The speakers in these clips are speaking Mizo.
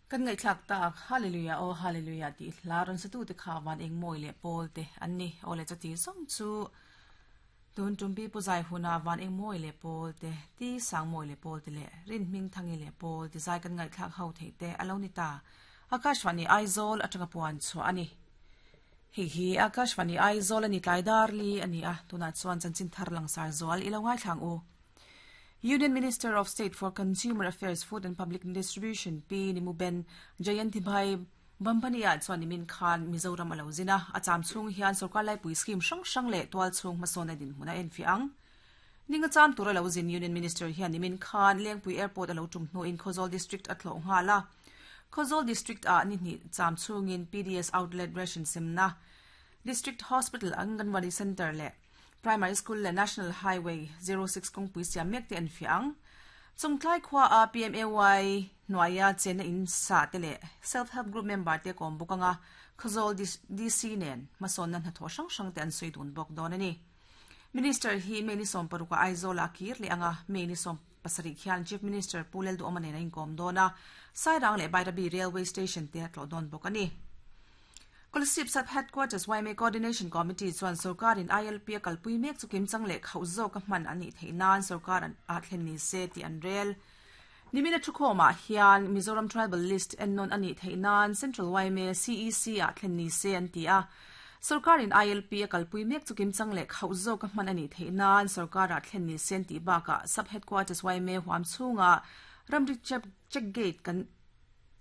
Kan ngaihthlak tak Hallelujah aw Hallelujah tih hla rawn satute kha van eng mawi leh pawl te an ni. Aw le chuti zawng chu tun tumpi pu zai huna van eng mawi leh pawl te, ti sang mawi leh pawl te leh rin hming thangi leh pawl ti zai kan ngaihthlak ho theih te a lo ni ta. Akashvani Aizawl atanga puan chhuah a ni. Hei hi Akashvani Aizawl a ni tlai dar li a ni a, tunah chuan chanchin thar langsar zual i lo ngaithlang u. Union Minister of State for Consumer Affairs, Food and Public Distribution Pi Nimuben Jayantibhai Bambani-ah chuan nimin khan Mizoram a lo zin a, a cham chhung hian sorkar laipui scheme hrang hrang leh tual chhung hmasawn a dinhmun a enfiah ang. Ninga cham tur a lo zin Union Minister hian nimin khan Lengpui Airport a lo tum hnuin Khawzawl District a tlawh nghal a. Khawzawl District-ah ni hnih cham chhungin PDS Outlet ration semna, District Hospital Anganwadi Centre leh Primary School leh National Highway 06 kawngpui siam mek te an fiah ang. Chungtlai khua a PMAY hnuaia chenna in sa te leh Self Help Group member te kawm bawk anga Khawzawl DC nen hmasawnna hnathawh hrang hrang te an sawi dun bawk dawn a ni. Minister hi May ni 16 ah Aizawl ah a kir leh anga May ni 17 khian Chief Minister Pu Lalduhawma nen a inkawm dawn a, Sairang leh Bairabi Railway Station te a tlawh dawn bawk a ni. Kolasib Sub Headquarters yma Coordination Committee chuan sorkarin ILP a kalpui mek chu kimchang leh khauh zawka hman a nih theih nan sorkar ah thlen ni se tih an rel. Nimina thukhawmah hian Mizoram Tribal List ennawn a nih theih nan Central yma CEC ah thlen ni se an ti a. Sorkarin ILP a kalpui mek chu kimchang leh khauh zawka hman a nih theih nan sorkar ah thlen ni se an tih bakah Sub Headquarters yma huam chhunga ramri check gate kan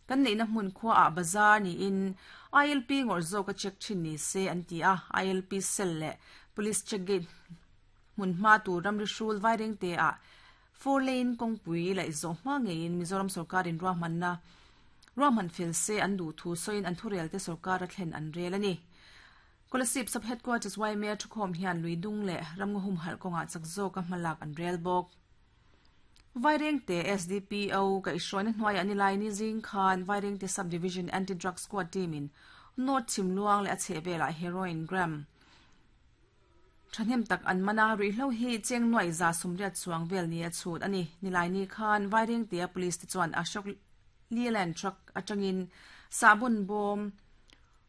Kan neihna hmun khuaah bazar niin ILP ngawrh zawka check thin ni se an ti a, ILP cell leh Police check gate hmun hma tur ramri hrul vairengte ah four lane kawngpui laih zawh hma ngeiin Mizoram sawrkarin ruahmanna ruahman fel se an duh thu sawiin an thurelte sawrkar a thlen an rel a ni. Kolasib Sub Headquarters yma thukhawm hian lui dung leh ramngaw humhalh kawngah chak zawka hmalak an rel bawk. Vairengte SDPO kaihhruaina hnuaiah nilai ni zing khan Vairengte Sub Division Anti Drug Squad team in North Chhimluang leh a chhehvelah Heroin gram thahnem tak an man a, ruihhlo hi cheng nuaih 180 chuang vel ni a chhut a ni. Nilai ni khan Vairengtea Police te chuan Ashok Leyland truck atangin sahbun bawm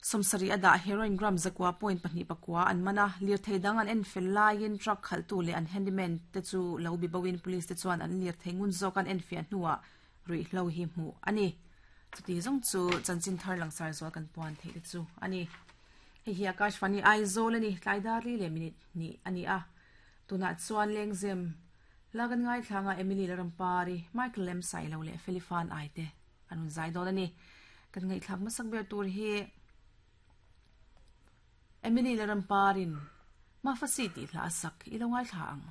70 a dah heroin gram 9.24 an man a, lirthei dang an en fel laiin truck khalhtu leh an handyman te chu lo bi boin police te chuan an lirthei ngun zawk an enfiah hnuah ruihhlo hi hmuh a ni. Chuti zawng chu chanchin thar langsar zual kan puan theih te chu a ni. Hei hi Akashvani Aizawl a ni, tlai dar li leh minute hnih a ni a. Tunah chuan Lengzem la kan ngaithla anga Emily Larampari, Michael Lemsailo leh Felifan Ai te an rawn zai dawn a ni. Kan ngaihthlak hmasak ber tur hi Emily Laramparin Mafasi tih hla a sak i lo ngaithla ang.